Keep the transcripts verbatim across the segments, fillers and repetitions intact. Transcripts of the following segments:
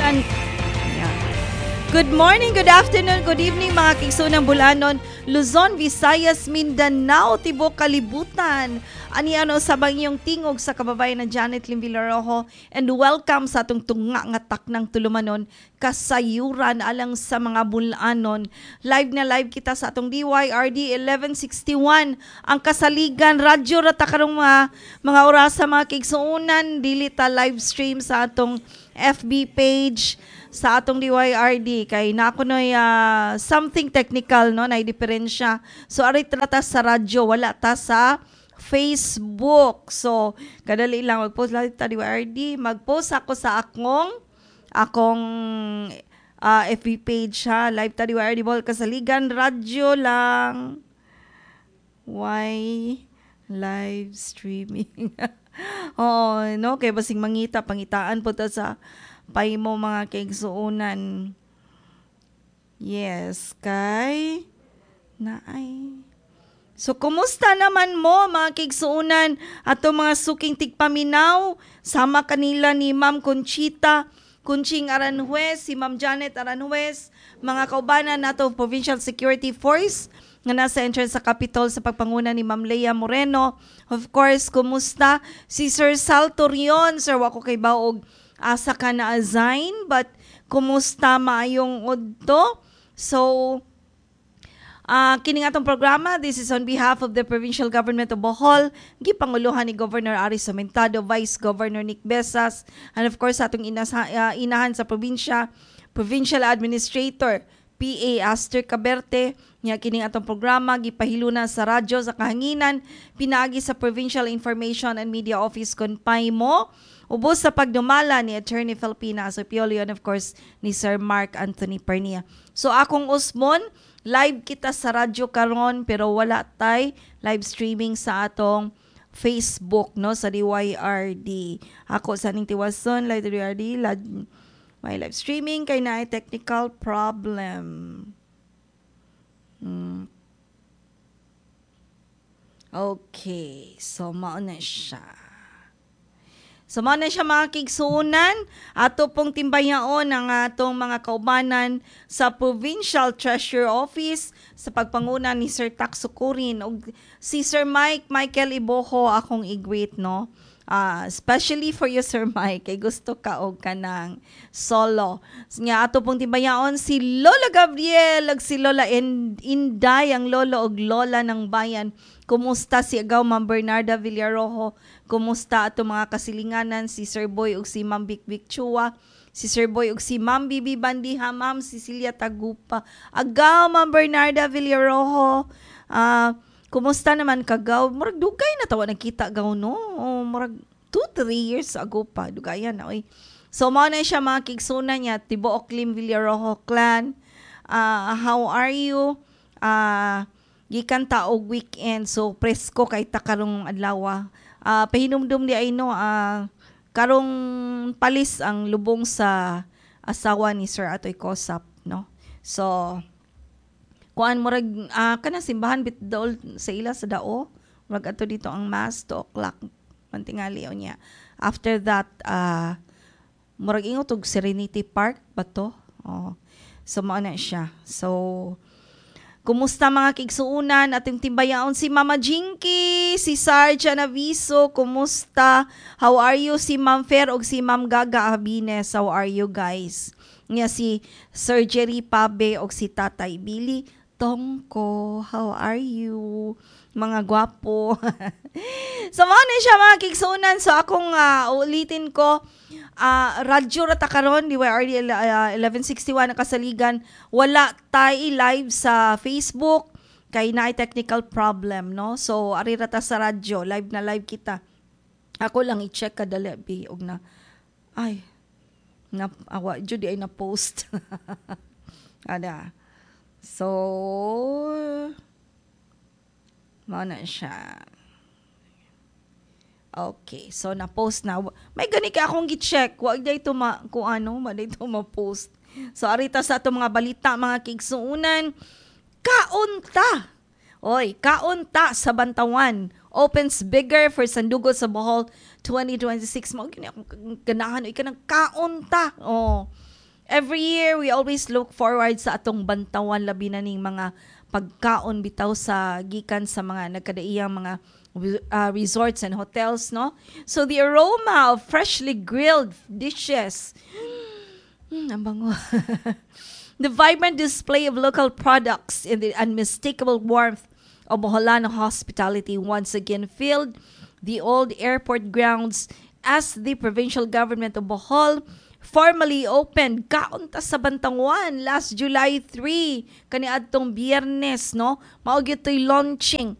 An Yeah. Good morning, good afternoon, good evening, mga kaigsoonang Bol-anon, Luzon, Visayas, Mindanao, tibok kalibutan. Ani ano sa iyong tingog sa kababayan na Janet Lim Villarojo and welcome sa atong tunga nga taknang tulumanon, Kasayuran alang sa mga Bol-anon. Live na live kita sa atong D Y R D eleven sixty-one, ang Kasaligan Radyo ra ta karong mga, mga oras sa mga kaigsuonan, dili ta live stream sa atong F B page sa atong D Y R D kay na ako noy uh, something technical, no, na diferensya. So ari ta sa radyo, wala ta sa Facebook. So kadali lang, magpost lang ta D Y R D, magpost ako sa akong akong uh, F B page ha. Live ta D Y R D Bohol, Kasaligan Radyo lang. Why live streaming? Oo, no, kay basing mangita, pangitaan po ta sa pay mo, mga kaigsuonan. Yes, kay naay. So, kumusta naman mo, mga kaigsuonan, ato mga suking tigpaminaw, sama kanila ni Ma'am Conchita Conching Aranjuez, si Ma'am Janet Aranjuez, mga kaubanan nato Provincial Security Force nga nasa entrance sa Capitol sa pagpanguna ni Ma'am Leia Moreno. Of course, kumusta si Sir Sal Torion? Sir, wa ko kay baog asa ka na assign, but kumusta, maayong udto? So, Uh, kining atong programa, this is on behalf of the Provincial Government of Bohol, gipanguluhan ni Governor Aris Samentado, Vice Governor Nick Besas, and of course atong inasa, uh, inahan sa probinsya, Provincial Administrator P A Aster Caberte. Nya kining atong programa gipahiluna sa radyo sa kahanginan pinaagi sa Provincial Information and Media Office, CONPAIMO, ubos sa pagdumala ni Attorney Filipina Asopiolio and of course ni Sir Mark Anthony Pernia. So akong usmon, live kita sa radyo karon pero wala tay live streaming sa atong Facebook, no, sa D Y R D. Ako sa ning tiwason live D Y R D live, may live streaming kay naay technical problem. Hmm. Okay, so mao na siya. So mao na siya, mga kaigsuonan, ato pong timbayaon ang atong mga kaubanan sa Provincial Treasurer Office sa pagpanguna ni Sir Tax Sukurin ug si Sir Mike Michael Iboho akong i-greet, no. Uh, especially for you, Sir Mike, kay gusto ka og kanang solo. Nga ato pong timbayaon si Lola Gabriel ug si Lola Inday, ang lolo ug lola ng bayan. Kumusta si Agaw Ma'am Bernarda Villarojo? Kumusta ato mga kasilinganan si Sir Boy ug si Ma'am Bik Bik Chua? Si Sir Boy ug si Ma'am Bibi Bandiha, Ma'am Cecilia Tagupa. Agaw Ma'am Bernarda Villarojo. Uh, kumusta naman kagaw? Murag dugay na tawa nagkita gaw, no? Oh, murag two, three years ago pa. Dugayan na oy. So mao na siya, mga kaigsuonan niya, tibuok Lim Villarojo clan. Uh, how are you? Uh, gikan ta og weekend, so presko kay ta karong adlaw. Uh, pahinumdum di ay, no, uh, karong palis ang lubong sa asawa ni Sir Atoy Kosap, no. So kuan, murag uh, kana simbahan bit dool sa ila sa Dao, murag ato dito ang mass two o'clock mantingali niya. After that, uh, murag ingot og Serenity Park ba to? Oh. So mao na siya. So kumusta, mga kaigsuonan, atong timbayaon si Mama Jinky, si Sarge Anaviso, kumusta? How are you, si Ma'am Fer ug si Ma'am Gaga Abines? How are you guys? Nga si Sir Jerry Pabe ug si Tatay Billy Tongko, how are you? Mga gwapo. So mao na siya, mga kaigsuonan. So akong uh, ulitin ko, uh, radyo ra ta karon, D Y R D uh, eleven sixty-one ang Kasaligan. Wala tay live sa Facebook kay naay technical problem, no. So ari ra ta sa radyo, live na live kita. Ako lang i-check kadali bi og na ay na awa jud ay na post. Ada. So mao na siya. Okay, so na-post na. May gani ka akong gi-check. Wa day to ma kung ano, ma day to ma-post. So arita sa ato mga balita, mga kaigsuonan, kaunta. Oy, kaunta sa Bantawan opens bigger for Sandugo sa Bohol twenty twenty-six. Mao gini akong ganahan oy kanang kaunta. Oh. Every year we always look forward sa atong Bantawan labi na ning mga pagkaon bitaw sa gikan sa mga nagkadaiyang mga uh, resorts and hotels no. So the aroma of freshly grilled dishes. Mm, ang bango. the vibrant display of local products and the unmistakable warmth of Boholano hospitality once again filled the old airport grounds as the provincial government of Bohol formally opened Kaon Ta sa Bantawan last July three kaniadtong Biyernes no mao gyud to'y launching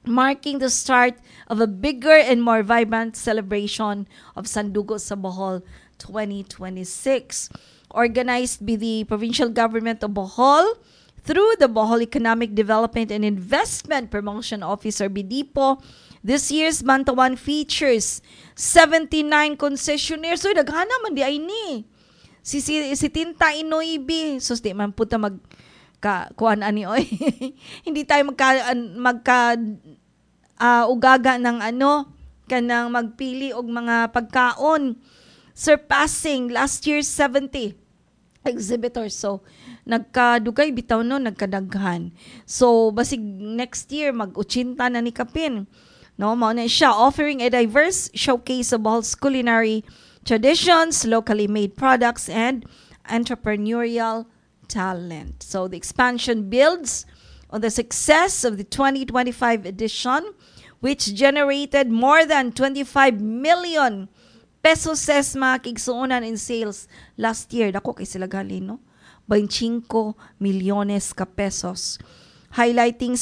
marking the start of a bigger and more vibrant celebration of Sandugo sa Bohol twenty twenty-six. Organized by the provincial government of Bohol through the Bohol Economic Development and Investment Promotion Office or BEDIPO, this year's Bantawan features seventy-nine concessionaires. So, daghana man diay ni. Si, si, si Tinta Inoibi. Sus, di man puta mag ka kuan ani oy. Hindi tayo magka magka uh, ugaga ng ano kanang magpili og mga pagkaon surpassing last year's seventy exhibitors. So, nagkadugay bitaw no, nagkadaghan. So, basig next year mag-eighty na ni kapin. No, mao na siya offering a diverse showcase of Bohol's culinary traditions, locally made products and entrepreneurial talent. So, the expansion builds on the success of the twenty twenty-five edition which generated more than twenty-five million pesos mga kigsuonan in sales last year. Dako kay sila gali, no? twenty-five milyones ka pesos. Highlighting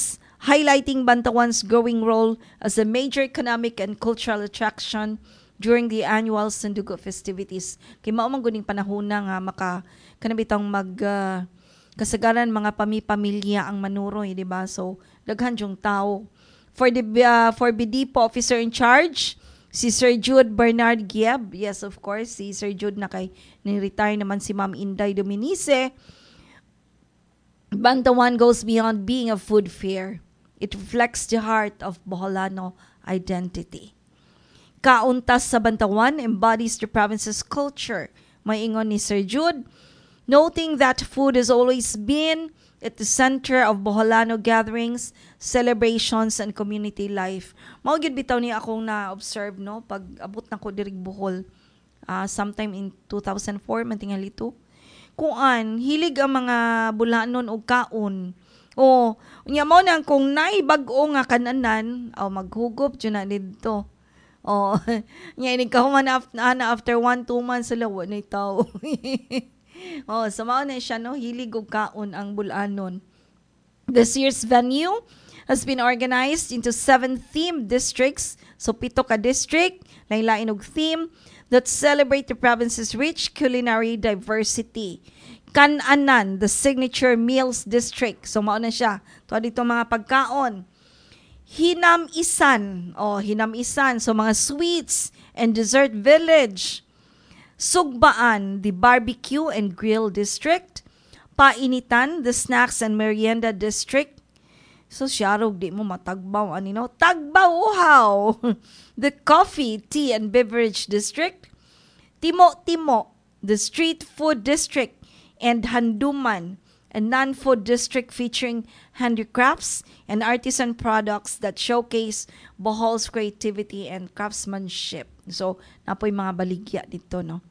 highlighting Bantawan's growing role as a major economic and cultural attraction during the annual Sandugo festivities. Kay mao man guning panahon na nga maka kanang bitang mag uh, kasagaran mga pami-pamilya ang manuroy, di ba? So daghan yung tao. For the uh, for BEDIPO officer in charge, si Sir Jude Bernard Gieb. Yes, of course, si Sir Jude na kay ni-retire naman si Ma'am Inday Dominice. Bantawan goes beyond being a food fair. It reflects the heart of Boholano identity. Kaon Ta sa Bantawan embodies the province's culture. Maingon ni Sir Jude, noting that food has always been at the center of Boholano gatherings, celebrations, and community life. Mao gyud bitaw ni akong na-observe no pag abot na ko diri Bohol uh, sometime in two thousand four man tingali to. Kuan, hilig ang mga bulanon og kaon. O, unya mo nang kung naay bag-o nga kananan, aw maghugop jud na didto. Oh, nya inig kahuman after, after one two months sila wa na tao. oh, so mao na siya no, hilig og kaon ang bulanon. This year's venue has been organized into seven themed districts. So pito ka district, lain-lain og theme that celebrate the province's rich culinary diversity. Kananan, the signature meals district. So mao na siya. To dito mga pagkaon. Hinamisan, oh Hinamisan, so mga sweets and dessert village. Sugbaan, the barbecue and grill district. Painitan, the snacks and merienda district. So siyarog di mo matagbaw ani no. Tagbaw uhaw. the coffee, tea and beverage district. Timo Timo, the street food district and Handuman, a non-food district featuring handicrafts and artisan products that showcase Bohol's creativity and craftsmanship. So, napoy mga baligya dito, no?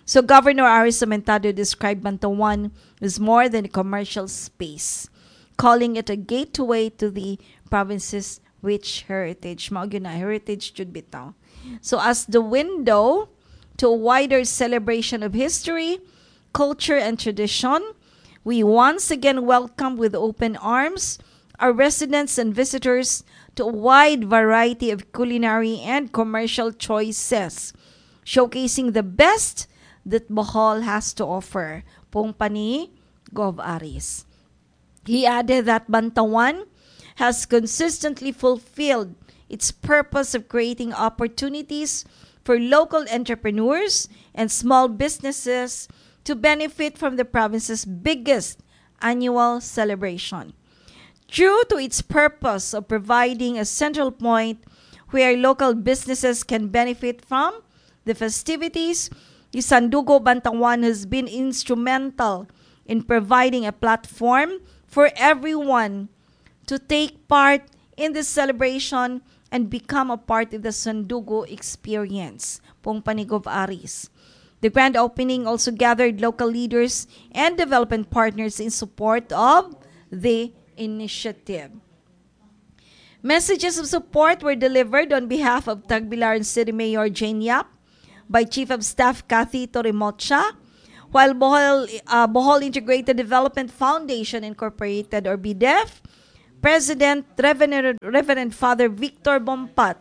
So, Governor Aris Aumentado described Bantawan as more than a commercial space, calling it a gateway to the province's rich heritage. Mao gyud na heritage jud bitaw. So, as the window to a wider celebration of history, culture, and tradition, we once again welcome with open arms our residents and visitors to a wide variety of culinary and commercial choices, showcasing the best that Bohol has to offer. Pung pani Gov Aris. He added that Bantawan has consistently fulfilled its purpose of creating opportunities for local entrepreneurs and small businesses to benefit from the province's biggest annual celebration. True to its purpose of providing a central point where local businesses can benefit from the festivities, the Sandugo Bantawan has been instrumental in providing a platform for everyone to take part in the celebration and become a part of the Sandugo experience. Pong pa ni Gov Aris. The grand opening also gathered local leaders and development partners in support of the initiative. Messages of support were delivered on behalf of Tagbilaran City Mayor Jane Yap by Chief of Staff Kathy Torimocha, while Bohol, uh, Bohol Integrated Development Foundation Incorporated or BIDEF, President Reverend, Reverend Father Victor Bompat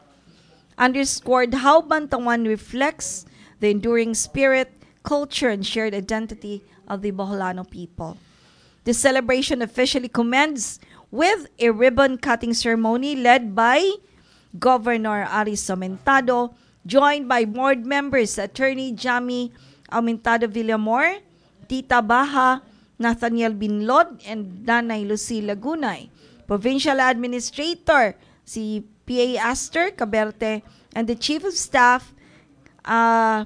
underscored how Bantawan reflects the enduring spirit, culture, and shared identity of the Boholano people. The celebration officially commenced with a ribbon-cutting ceremony led by Governor Aris Aumentado, joined by board members Attorney Jami Aumentado Villamor, Tita Baha, Nathaniel Binlod, and Nanay Lucy Lagunay. Provincial Administrator si PA Aster Caberte, and the Chief of Staff uh,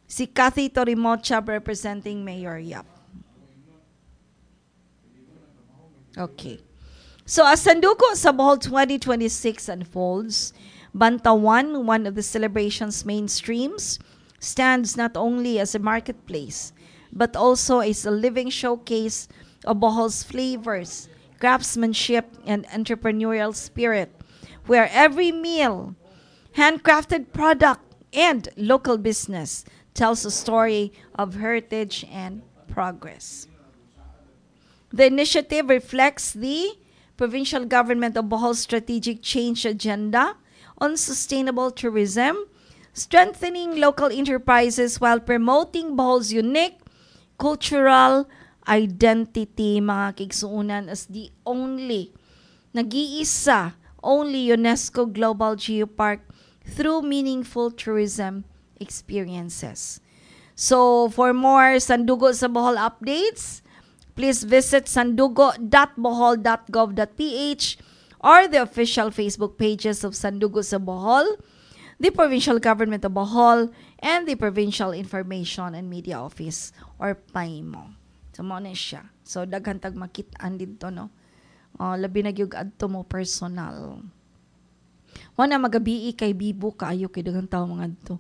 si Kathy Torimocha representing Mayor Yap. Okay. So as Sandugo sa Bohol twenty twenty-six unfolds, Bantawan, one of the celebration's main streams, stands not only as a marketplace, but also as a living showcase of Bohol's flavors, craftsmanship, and entrepreneurial spirit, where every meal, handcrafted product, and local business tells a story of heritage and progress. The initiative reflects the provincial government of Bohol's strategic change agenda on sustainable tourism, strengthening local enterprises while promoting Bohol's unique cultural identity, mga kaigsuonan, as the only, nag-iisa, only UNESCO Global Geopark through meaningful tourism experiences. So, for more Sandugo sa Bohol updates, please visit sandugo dot bohol dot gov dot p h or the official Facebook pages of Sandugo sa Bohol, the Provincial Government of Bohol, and the Provincial Information and Media Office or PAIMO. So, mo na siya. So, daghan tag makit-an dito, no? Oh, labi na gyud adto mo personal. Wa na magabii kay bibo kaayo kay daghang tawo mga adto.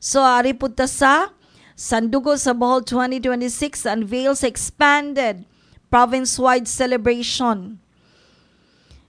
So, ari pud ta sa Sandugo sa Bohol twenty twenty-six unveils expanded province-wide celebration.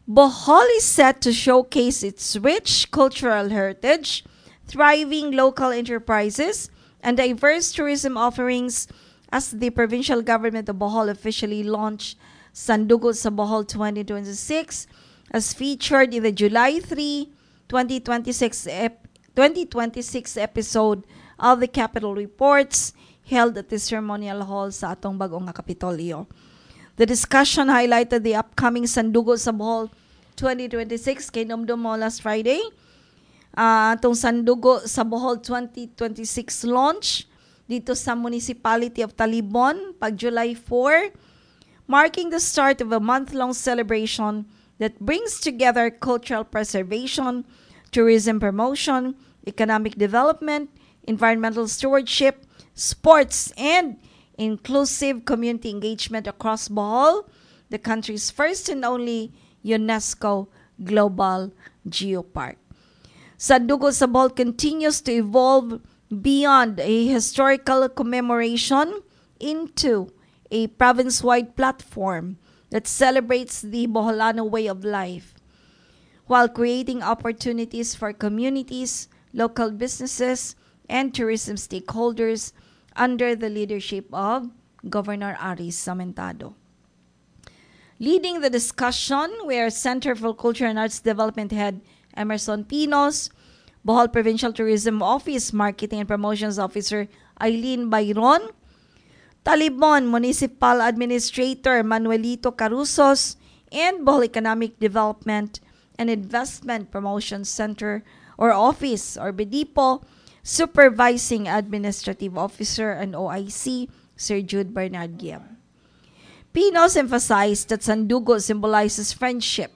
Bohol is set to showcase its rich cultural heritage, thriving local enterprises, and diverse tourism offerings as the provincial government of Bohol officially launched Sandugo sa Bohol twenty twenty-six as featured in the July three, twenty twenty-six ep-, twenty twenty-six episode of the Capitol Reports held at the Ceremonial Hall sa atong bag-ong nga Kapitolyo. The discussion highlighted the upcoming Sandugo sa Bohol twenty twenty-six kay numdum mo last Friday. Uh, atong Sandugo sa Bohol twenty twenty-six launch dito sa Municipality of Talibon pag July four, marking the start of a month-long celebration that brings together cultural preservation, tourism promotion, economic development, environmental stewardship, sports, and inclusive community engagement across Bohol, the country's first and only UNESCO Global Geopark. Sandugo sa Bohol continues to evolve beyond a historical commemoration into a province-wide platform that celebrates the Boholano way of life, while creating opportunities for communities, local businesses, and tourism stakeholders under the leadership of Governor Aris Aumentado. Leading the discussion were Center for Culture and Arts Development Head Emerson Pinos, Bohol Provincial Tourism Office Marketing and Promotions Officer Eileen Bayron, Talibon Municipal Administrator Manuelito Carusos, and Bohol Economic Development and Investment Promotion Center or Office or BEDIPO Supervising Administrative Officer and O I C Sir Jude Bernard Gibb. Pinos emphasized that Sandugo symbolizes friendship,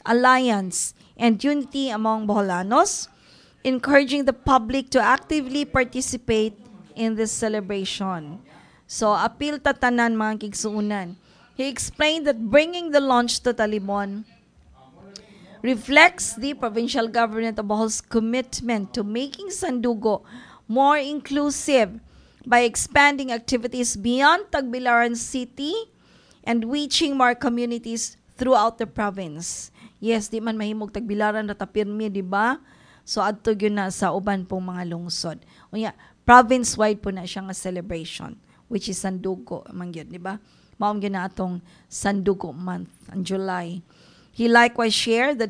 alliance, and unity among Boholanos, encouraging the public to actively participate in this celebration. So, apil ta tanan mga kigsuunan. He explained that bringing the launch to Talibon reflects the provincial government of Bohol's commitment to making Sandugo more inclusive by expanding activities beyond Tagbilaran City and reaching more communities throughout the province. Yes, di man mahimog Tagbilaran ra ta pirmi, di ba? So adto gyud na sa uban pong mga lungsod. Unya, province-wide po na siya nga celebration which is Sandugo man gyud, di ba? Mao gyud na atong Sandugo month ang July. He likewise shared that